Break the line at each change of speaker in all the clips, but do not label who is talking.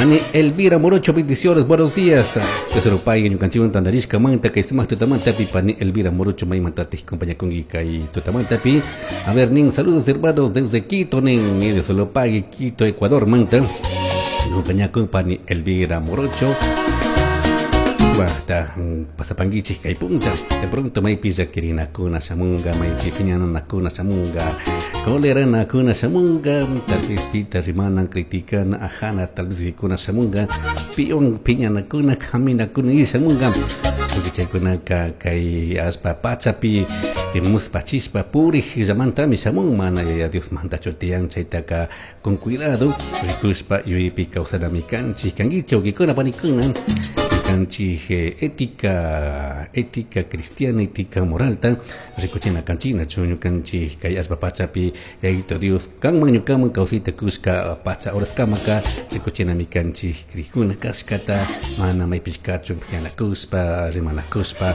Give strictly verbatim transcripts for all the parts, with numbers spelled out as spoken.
Pani Elvira Morocho, bendiciones, buenos días. Tesoro pay ñukanchikwan tantarishka manta kay sumaq tutamantapi pani Elvira Morocho maymantatik compañakunki kay tutamantapi. A ver, nin saludos, hermanos, desde Quito, nin de Solopagui, Quito, Ecuador manta. Compañakun pani Elvira Morocho. Sumaqta pasapankichik kay puncha. De pronto maypi llakirinakuna shamunga, maypi piñanakuna shamunga, coleranakuna shamunga, tal vez pita rimana, criticana, ajana, tal vez vikuna shamunga, pion piñanakuna, kaminakuna y shamunga. Porque chaykunaka kay allpa pachapi muspachishpa purij llamantami shamun, mana Yaya Dios mantachu tiyan. Chaytaka con cuidado rikushpa yuyaypi kawsanami kanchik. Kankichik, wawkikuna, panikuna, kanchik ética ética cristiana, ética moralta rikuchina kanchik, nachu ñukanchik kay allpa pachapi Yayito Dios kanman ñukaman kawsayta kushka pacha horaskamaka rikuchinami kanchik krikuna kashkata, mana maypish kachun piñanakushpa, rimanakushpa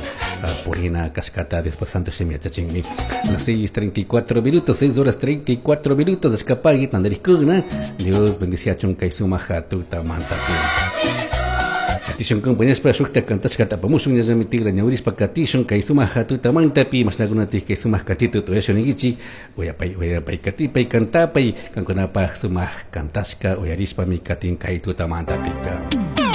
purina kashkata. Después santo shimi yachachinmi. Las seis treinta y cuatro minutos, seis horas treinta y cuatro minutos, ashkapagui tantarikuna. Dios bendiciachun kay sumaq tutamantapi. Katishun compañeros, shukta kantashkata apamushun, ñallami tigra ñawirishpa katishun kay sumaq tutamantapi. Mashnakunatik kay sumaq kachito tuyashun ninkichik. Uyapay, uyapay, katipay, kantapay. Kankunapaj sumaq kantashka uyarishpami katin kay tutamantapika.